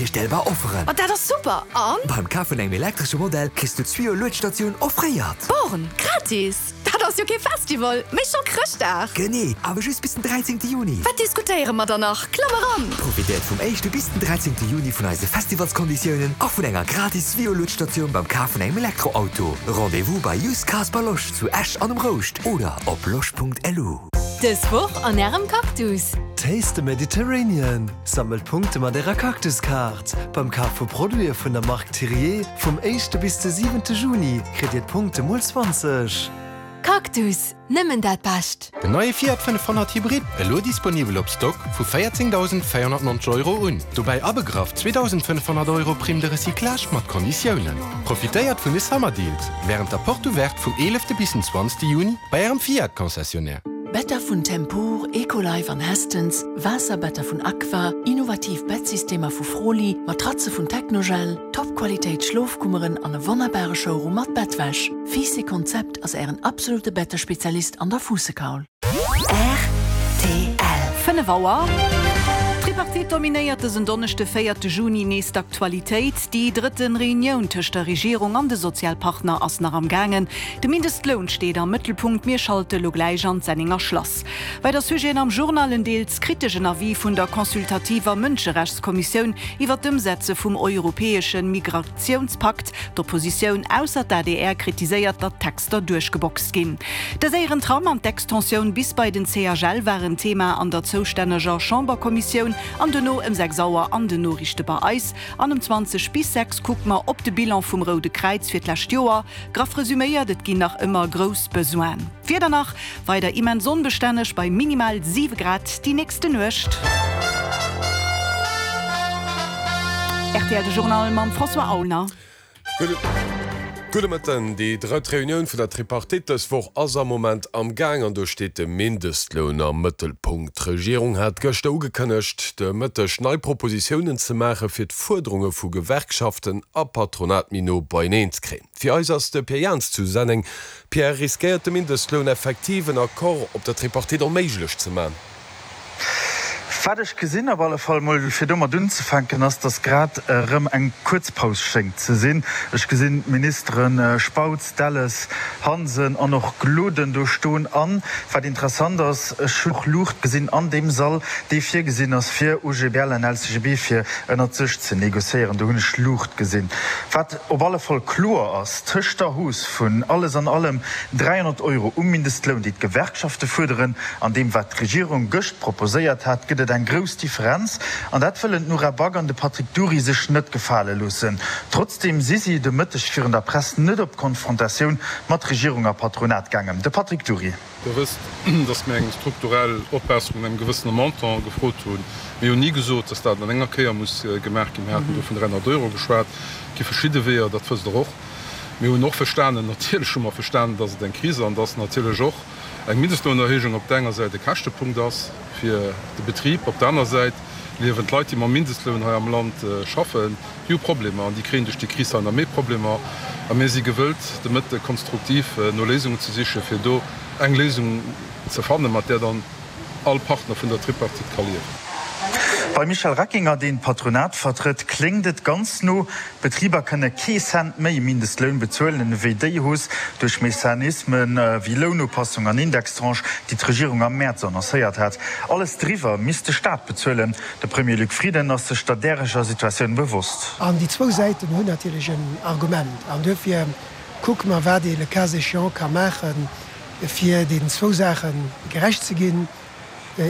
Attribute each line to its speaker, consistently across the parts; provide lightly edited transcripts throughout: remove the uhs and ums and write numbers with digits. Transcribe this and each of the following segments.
Speaker 1: Onvirstellbar Offeren!
Speaker 2: Ma dat ass super! An?
Speaker 1: Beim Kaf vun engem elektresche Modell kriss du d'Swio Luedstatioun offréiert!
Speaker 2: Born, gratis? Dat ass jo kee Festival, mee scho Chrëschtdag!
Speaker 1: Genee, awer just bis den 13 Juni!
Speaker 2: Wat diskutéiere mer dann nach? Klamm eran!
Speaker 1: Profitéiert vum éischte bis den 13 Juni vun eise Festivalskonditiounen a vun enger gratis Swio Luedstatioun beim Kaf vun engem Elektroauto. Rendez-vous bei Used Cars by Losch zu Esch an um Rouscht oder op losch.lu.
Speaker 3: Dës Woch an Ärem Cactus!
Speaker 4: Taste the Mediterranean! Sammelt Punkte mat Ärer Cactus-Kaart! Beim Kaf vu Produite vun der Mark Thiriet vum éischte bis de siwente Juni kritt Dir d'Punkte mol 20.
Speaker 3: Cactus, nëmmen dat Bescht!
Speaker 5: Den neie Fiat 500 Hybrid, elo disponibel op Stock vu 14.490 Euro un. Dobäi abegraff 2.500 Euro Prime de recyclage mat Konditiounen. Profitéiert vun de Summer Deals wärend der Porte Ouverte vum 11 bis den 20 Juni bei ärem Fiat Concessionnaire.
Speaker 6: Better vun Tempur, Ecolife an Hestens, Waasserbetter vun Aqua, innovativ Bettsystemer vu Froli, Matratze vun Technogel, Top-Qualitéit Schlofkummeren an e wonnerbare Showroom mat Bettwäsch. Fiiss Konzept ass ären absolute Bettespezialist an der Fuussekaul.
Speaker 3: Rtl.
Speaker 7: 5 Auer. D'Tripartite dominéiert dësen Donneschde, véierte Juni, nees d'Aktualitéit. Déi drëtte Reunioun tëscht der Regierung an de Sozialpartner ass nach am gaangen. De Mindestloun steet am Mëttelpunkt. Mir schalte lo gläich an d'Sennenger Schlass. Weider Sujeten am Journal, En deels kriteschen Avis vun der consultativer Mënscherechtskommissioun iwwer d'Ëmsetze vum europäesche Migratiounspakt. D'Oppositioun, ausser d'ADR, kritiséiert, datt d'Texter duerchgeboxt ginn. De séieren Tram an d'Extensioun bis bei den CHL waren Thema an der zoustänneger Chamberkommissioun an dono ëm 6 Auer an den Noriichte bei eis. An ëm 20 bis 6 kucke mer op de Bilan vum Roude Kräiz fir d'lescht Joer. Graff resuméiert, et ginn nach ëmmer grouss Besoinen. D'Wieder nach weider immens onbestänneg bei minimal 7 Grad déi nächste Nuecht. Rtl de Journal mam François Aulner.
Speaker 8: Gudde Mëtten. Déi drëtt Reunioun vun der Tripartite dës Woch ass am Moment am Gaang an do steet de Mindestloun am Mëttelpunkt. D'Regierung hat gëschter ugekënnegt, de Mëtteg nei Propositiounen ze maache fir d'Fuerderunge vu Gewerkschaften a Patronat méi no beieneen ze kréien. Fir eis ass de Pierre Jans zu Senneng. Pierre, riskéiert de Mindestloun effektiv en Accord op der Tripartite onméiglech ze man?
Speaker 9: Wat ech gesinn, op alle Fall mol fir domat unzefänken, ass, datt grad erëm eng kuerz Paus schéngt ze sinn. Ech gesinn d'Ministere Spautz, Delles, Hansen an och Gloden do stoen. An, wat interessant ass, ech hunn och Luucht gesinn an deem Sall, dee virgesinn ass fir OGBL an LCGB fir ënnert sech ze négociéieren. Do hunn ech Luucht gesinn. Wat op alle Fall kloer ass, Tëscht der Hausse vun alles an allem 300 Euro um Mindestloun, déi d'Gewerkschafte fuerderen, an deem wat d'Regierung gëscht proposéiert hat, gëtt et eng grouss Differenz. An dat wëllen d'Nora Back an de Patrick Dury sech net gefale loossen. Trotzdeem si si de Mëtteg virun der Press net op d'Konfrontatioun mat Regierung a Patronat gaangen. De Patrick Dury.
Speaker 10: Der wësst, dass mir eng strukturell Opbesserung an engem gewëssene Montant gefrot hunn. Mir hunn ni gesot, dass dat an enger Kéier muss gemaach ginn. Mir haten do vun 300 Euro geschwat. Et gi verschidde Weeër, dat wësst Der och. Mir hunn och verstanen, natierlech hu mer verstanen, dass et eng Kris an dass natierlech och eng Mindestlounerhéijung op der enger Säit e Käschtepunkt ass fir de Betrib, op der aner Säit liewen d'Leit, déi mam Mindestloun hei am Land schaffen, Déi hu Problemer an déi kréien duerch déi Kris hei nach méi Problemer. A mir si gewëllt, de Mëtte konstruktiv no Léisungen ze sichen, fir do eng Léisung ze fannen, mat där dann all Partner vun der Tripartite ka liewen.
Speaker 9: Beim Michel Reckinger, deen d'Patronat vertrëtt, kléngt et ganz no, D'Betriber kënne kee Cent méi Mindestloun bezuelen ewéi déi Hausse duerch Mechanisme wéi Lounupassung an Indextranche, déi d'Regierung am Mäerz annoncéiert hat. Alles driwwer misst de Staat bezuelen. De Premier Luc Frieden ass sech der däreger Situatioun bewosst.
Speaker 11: An déi zwou Säiten hunn natierlech en Argument. An duerfir kucke mer, wat ee le cas échéant ka maachen, fir deenen zwou Saache gerecht ze ginn,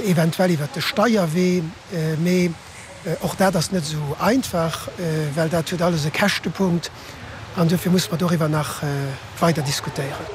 Speaker 11: eventuell iwwert de Steierwee. Mee och dat ass net esou einfach, well dat huet alles e Käschtepunkt. An duerfir musse mer doriwwer nach weider diskutéieren.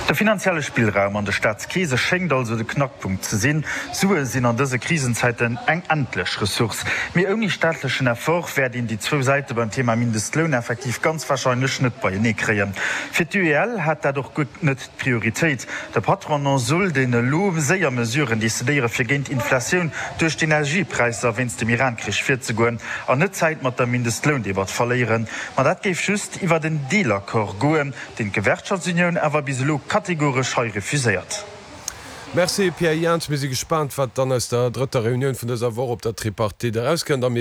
Speaker 9: De finanzielle Spillraum an de Staatskeese schéngt also de Knackpunkt ze sinn. Sue sinn an dëse Krisenzäiten eng endlech Ressource. Mee ouni staatlechen Effort wäert een déi zwou Säite beim Thema Mindestloun effektiv ganz warscheinlech net beienee kréien. Fir d'UEL hat dat och guer net d'Prioritéit. De Patronat soll deen elo séier Mesuren decidéiere fir géint d'Inflatioun duerch d'Energiepräisser wéinst dem Iran-Krich virzegoen an net Zäit mat der Mindestloundebatt verléieren. Ma dat géif just iwwert en Deelaccord goen, deen d'Gewerkschaftsunioun awer bis elo kategoresch hei refuséiert.
Speaker 8: Merci Pierre Jans. Mir si gespaant wat dann aus der drëtter Reunioun vun dëser Woch op der Tripartite erauskënnt a mir.